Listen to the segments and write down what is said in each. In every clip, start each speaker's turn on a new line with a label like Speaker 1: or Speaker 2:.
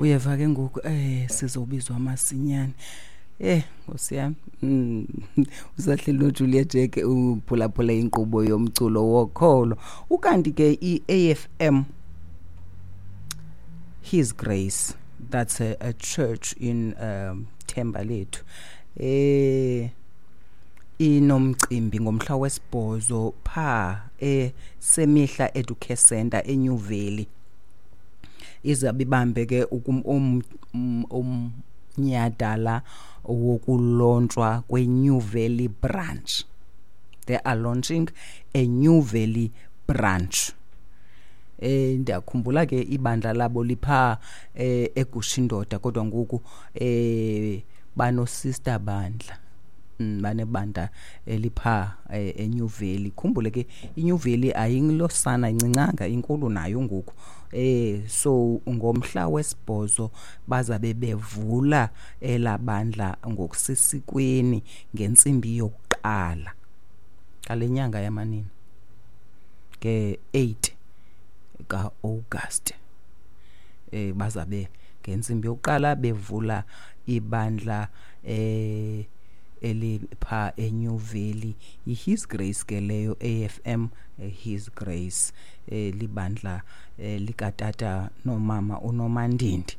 Speaker 1: Uyeva ke ngoku sizobizwa masinyane. Nkosi yami. Usahleli noJulia Jack uphulaphula inkqubo yomculo wokholo. Ukanti ke iAFM His Grace, that's a church in Thembalethu. Inomcimbi ngomhla wesibhozo pha eSemihla Educare Center eNew Valley. Izabe ibambe ke umnyhadala wokulontshwa kweNew Valley branch. They are launching a New Valley branch. Ndiyakhumbula ke ibandla labo lipha eGushindoda, kodwa ngoku banosister bandla. Banebandla elipha eNew Valley. Khumbule ke iNew Valley ayilosana incincanga, inkulu nayo ngoku. So ngomhla wesibhozo bazabe bevula elabandla ngokusesikweni ngentsimbi yokuqala ngale nyanga yamanina nge-8 kaAugust. Bazabe ngentsimbi yokuqala bevula ibandla elipha eNew Valley. IHis Grace ke leyo, AFM His Grace, libandla likatata nomama uNomandindi.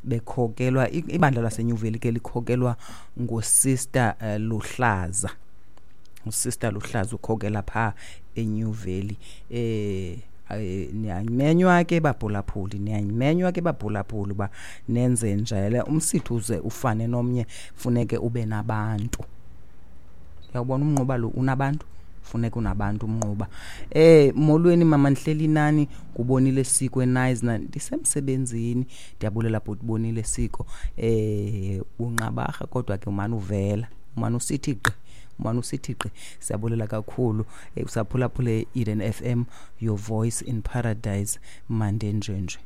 Speaker 1: Bekhokelwa ibandla laseNew Valley ke likhokelwa nguSister Luhlaza. USister Luhlaza ukhokela pha eNew Valley. Niyamenywa ke baphulaphuli, niyamenywa ke baphulaphuli uba nenze njalo. Umsitho uze ufane nomnye, funeke ube nabantu. Uyawubona umnquba lo unabantu, funeka unabantu umnquba. Molweni mama, ndihleli nani ngubonile Siko eNaisna, ndisemsebenzini. Ndiyabulela bhuti Bonile Siko. Unqabarha kodwa ke umane uvela, umane usithi gqi, umane usithi gqi. Siyabulela kakhulu. Usaphulaphule Eden FM, your voice in paradise, mandenjenje.